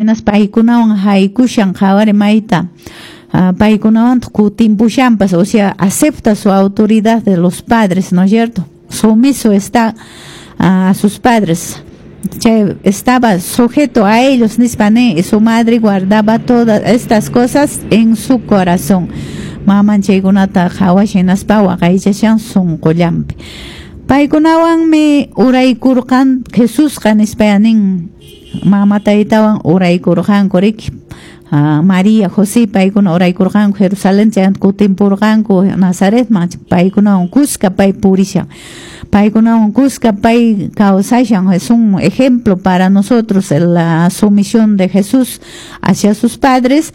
Hinaspa paykunawan haykushan qhawari mayta paykunawantaq kutimpushanpas, o sea, acepta su autoridad de los padres, ¿no es cierto? Sumiso está a sus padres. Chay estaba sujeto a ellos, nispa nin, y su madre guardaba todas estas cosas en su corazón. Maman chaykunata qhawashan hinaspa waqaychashan sunqullanpi. Paykunawanmi uraykurqan Jesusqa nispa nin, mama taytawan uraykurqanku riki. María, José paykuna uraykurqanku Jerusalén chaymanta kutimpurqanku Nazaretman, paykunawan kuska pay purishan. Paykunawan kuska pay kawsashan. Es un ejemplo para nosotros la sumisión de Jesús hacia sus padres.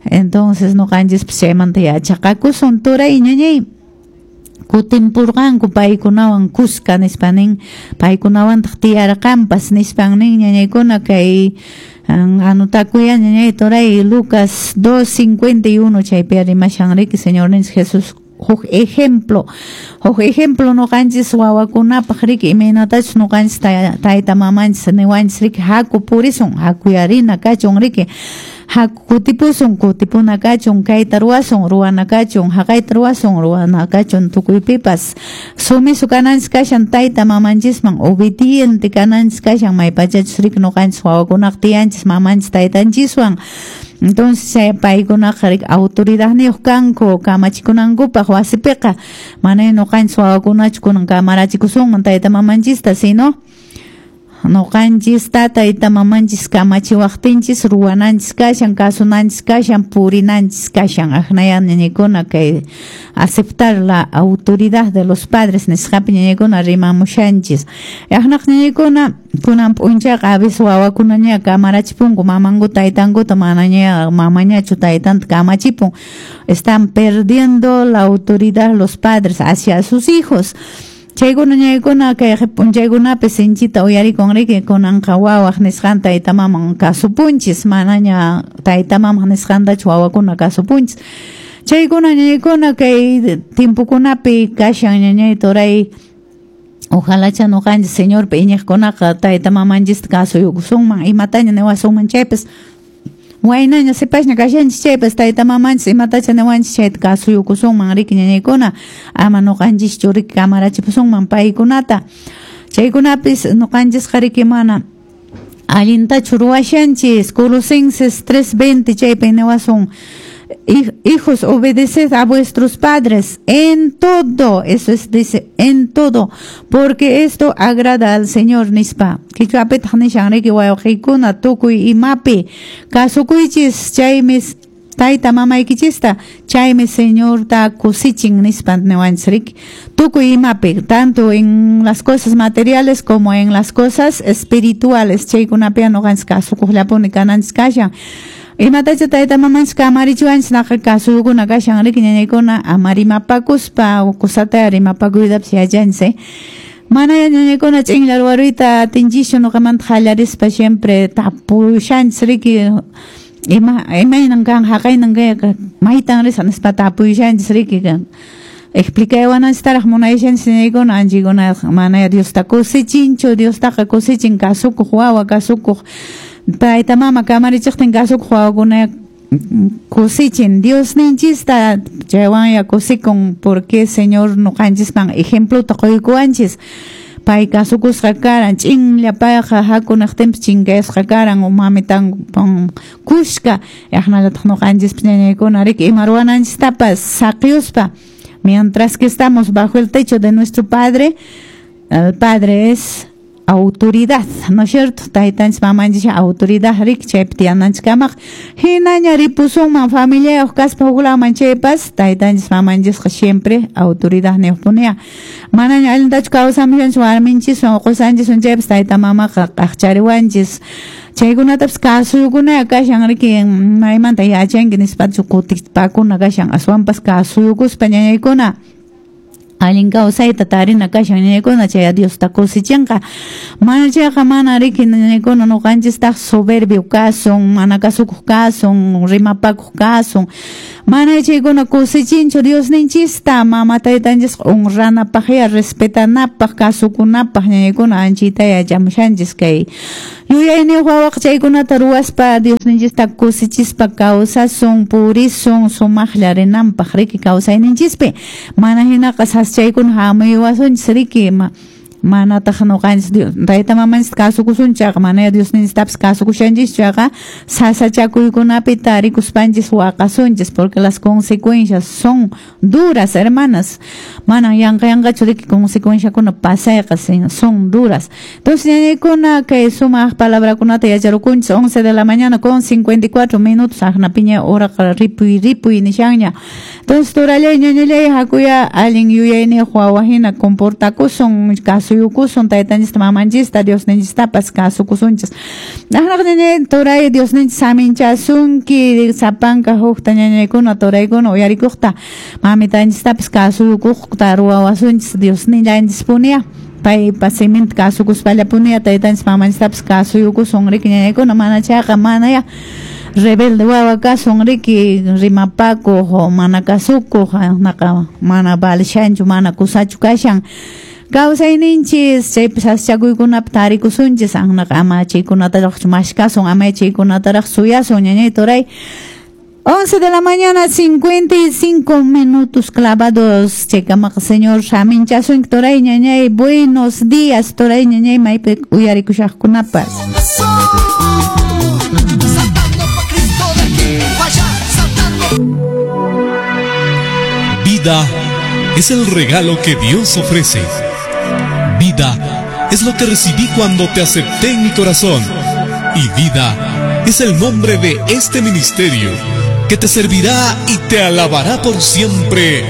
Entonces ñuqanchispas chaymanta yachaqakusun turay ñañay. Kutimpurqanku paykunawan kuska nispa nin, paykunawantaq tiyarqanpas nispan nin ñañaykuna. Kay anotakuya ñañay turay, Lucas 2.51, chaypi rimashan riki Señorninchik Jesús, huk ejemplo ñuqanchis wawakunapaq riki, imaynatachus ñuqanchis tayta mamanchis niwanchis riki, haku purisun, hakuyarina kachun riki, haku kutipusun, kutipuna kachun, kayta ruwasun, ruwana kachun, haqayta ruwasun, ruwana kachun. Tukuypipas sumiso kananchis kashan tayta mamanchisman, obediente kananchis kashan, maypachachus riki ñuqanchis wawakunaqa tiyanchis mamanchis taytanchiswan. Entonces paykunaqa riki autoridadniyuq kanku kamachikunankupaq wasipiqa, mana ñuqanchis wawakunachu kunan kamarachikusunman tayta mamanchista, sino ñuqanchista tayta mamanchis kamachiwaqtinchis ruwananchis kashan, kasunanchis kashan, purinanchis kashan. Aqnaya ñañaykuna, kay aceptar la autoridad de los padres nisqapi ñañaykuna rimamushanchis. Aqnaq ñañaykuna, kunan p'unchayqa a veces wawakunaña kamarachipunku mamankuta taytankuta, manaña mamañachu taytanta kamachipun. Están perdiendo la autoridad los padres hacia sus hijos. Chaykuna ñaykuna kay p'unchaykunapi sinchita uyarikun riki, kunanqa wawaq nisqanta tayta maman kasupunchis, manaña tayta mamaq nisqantachu wawakuna kasupunchis. Chaykuna ñañaykuna kay tiempokunapi kashan ñañay turay. Ojalacha ñuqanchis Señorpi iñiqkunaqa tayta mamanchista kasuyukusunman, imataña niwasunman chaypas, waynaña sipasña kashanchis chaypas, tayta mamanchis imatacha niwanchis chayta kasuyukusunman riki ñañaykuna, ama ñuqanchischu riki kamarachipusunman paykunata. Chaykunapis ñuqanchisqa riki mana allintachu ruwashanchis. Colosenses 3:20 chaypi niwasun: "Hijos, obedeced a vuestros padres en todo", eso es, dice, "en todo, porque esto agrada al Señor" nispa. Qichwapitaq nishan riki: wawqiykuna, tukuy imapi kasukuychis chaymi tayta mamaykichista, chaymi Señorta kusichin nispa niwanchis riki. Tukuy imapi, tanto en las cosas materiales como en las cosas espirituales, chaykunapi ñuqanchis kasukuqllapuni kananchis kashan. Imatacha tayta mamanchis kamarichiwanchis naqa kasuyukuna kashan riki ñañaykuna, ama rimapakuspa, kusata rimapakuytapas yachanchis, eh? Mana ñañaykuna ch'inlla ruwaruyta atinchischu, ñuqamanta qallarispa siempre tapushanchis riki, ima imaynan kan, haqaynan kay, maytan risaq nispa tapushanchis riki, explicaywananchiktaraq munayashanchis ñañaykuna. Anchaykuna mana Diosta kusichinchu, Diostaqa kusichin kasukuq wawa, kasukuq tayta mama kamarichiqtin kasukuq wawakuna kusichin Diosninchista, chaywanya kusikun, porque Señor ñuqanchisman ejemplota quykuwanchis. Pay kasukusqa karan, ch'inlla payqa, haku niqtinpas chinkayasqa karan mamitan kushka. Aqnallataq ñuqanchispas ñañaykuna riki, ima ruwananchistapas saqiyuspa, mientras que estamos bajo el techo de nuestro padre, el padre es autoridad, ¿no es cierto? Taytanchis mamanchis autoridad riki, chaypi tiyananchikamaq. Hinaña ripusunman familiayuq kaspa huklaman chaypas, taytanchis mamanchisqa siempre autoridad niyuqpuniya. Manaña allintachu kawsamushanchis warminchiswan qusanchiswan chaypas, tayta mamaqa qaqchariwanchis. Chaykunatapas kasuyukunaya kashan riki, maymanta yachanki nispachu kutipakuna kashan, aswanpas kasuyukuspa ñañaykuna. Allin kawsayta tarina kashan ñañaykuna, chay Diosta kusichinqa. Mana chayqa mana riki ñañaykuna, ñuqanchistaq soberbio kasun, mana kasukuq kasun, rimapakuq kasun. Mana chaykuna kusichinchu Diosninchista, mama taytanchisqa honranapaqya, respetanapaq, kasukunapaq ñañaykuna anchita yachamushanchis kay yuyayniyuq wawaqa chaykunata ruwaspa Diosninchista kusichispa kawsasun, purisun, sumaqlla rinanpaq riki kawsayninchispi. Mana hinaqa saschaykuna hamuywasunchis riki, manataq ñuqanchis Dios tayta mamanchista kasukusunchis chayqa, mana Diosninchistapas kasukushanchis chayqa, sasachakuykunapi tarikuspanchis waqasunchis, porque las consecuencias son duras, hermanas. Manan yanqa yanqachu riki consecuenciakuna pasayqa, son duras. Entonces, ñañaykuna, kay sumaq palabrakunata yacharukunchis. 11 de la mañana con 54 minutos, aqnapiña horaqa ripuy ripuy nishanña. Entonces, turallay, ñañallay, hakuya allin yuyayniyuq wawa hina comportakusun, kasuyukusun taytanchista, mamanchista, Diosninchistapas kasukusunchis. Aqnaq ñañay, turay, Diosninchis saminchasunki sapanka hukta ñañaykuna, turaykuna uyarikuqta, mamitanchistapas kasuyukuqta ruwawasunchis Diosnillanchispuniya. Paypa siminta kasukuspallapuniya taytanchis mamanchistapas kasuyukusun riki ñañaykuna, mana chayqa manaya rebelde wawa kasun riki, rimapakuq, mana kasukuq, naqa mana valishanchu, mana kusachu kashan kawsayninchis, chaypi sasachakuykunapi tarikusunchis, aqnaqa ama chaykunataraqchu mashkasun, ama chaykunataraq suyasun ñañay, turay. 11 de la mañana, 55 minutos clavados. Chaykamaqa Señor saminchasunki, turay, ñañay. Buenos días, turay, ñañay, maypi uyarikushaqkunapas. Saltando pa' Cristo de aquí pa' allá, saltando. Vida es el regalo que Dios ofrece. Vida es lo que recibí cuando te acepté en mi corazón. Y vida es el nombre de este ministerio que te servirá y te alabará por siempre.